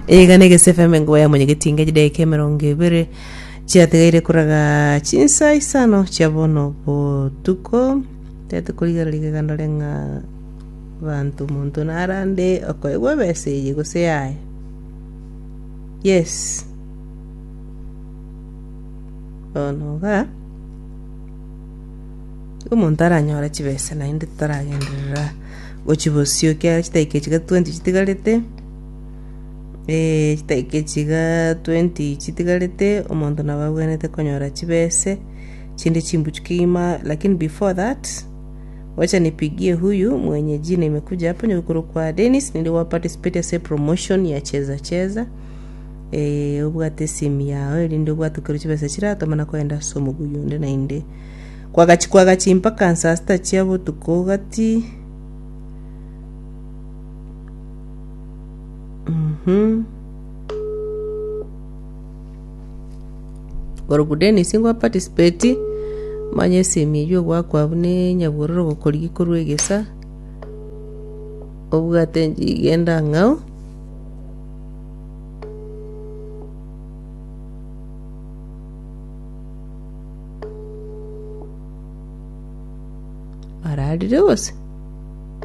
Eyeiga negese FM enkuba ya mwenyegetinga chidaeka emerongo ebere chiatigaire koraga chinsa isano chia bono botuko tete korigereria iga ndore ng'a banto monto narande okoegwa ebesa eye gose yaya yes bono iga omonto aranyore chibesa naende totaragenderera gochia bosio ekiagera chidaeka echi iga 20 chitigarete. Chidakika echi iga 20 chitigarete, omonto nabo abwenerete konyora chibese, chinde chimbuchu kegima, lakini before that, wacha nipigie huyu mwenye jina imekuja hapa onye okorokwa Dennis, ninde gwa participate ase epromotion ya cheza cheza, obwate esimi yao erinde obwate korwa chibesa chiria tomana kogenda ase omobuya onde naende. Kwagachi kwagachi mpaka saa sita chia botuko gati. Mhm. Korokwa Dennis ngwa participate manye esimi eywo ogwakwa buna enyabororo gokorigia korwa egesa obwate enchigi ende ang'ao. Ararire gose?